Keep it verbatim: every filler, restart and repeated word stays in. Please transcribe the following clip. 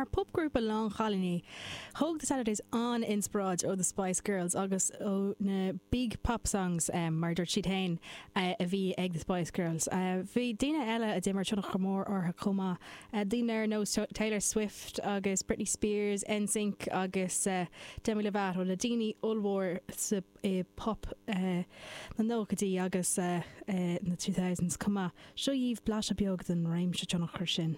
Mar popgrúpa lán chailíní, thóg The Saturdays an-inspioráid ó the Spice Girls agus ó na big pop songs um, mar dúirt siad féin uh, a bhí ag the Spice Girls. Uh, bhí daoine eile a d'imir tionchar mór orthu chomh maith. Uh, daoine ar nós Taylor Swift agus Britney Spears, NSYNC agus uh, Demi Lovato na daoine ollmhór sa uh, pop uh, na nóchaidí agus uh, uh, na two thousands chomh maith. Seo dhaoibh blaiseadh beag den réimse tionchar sin.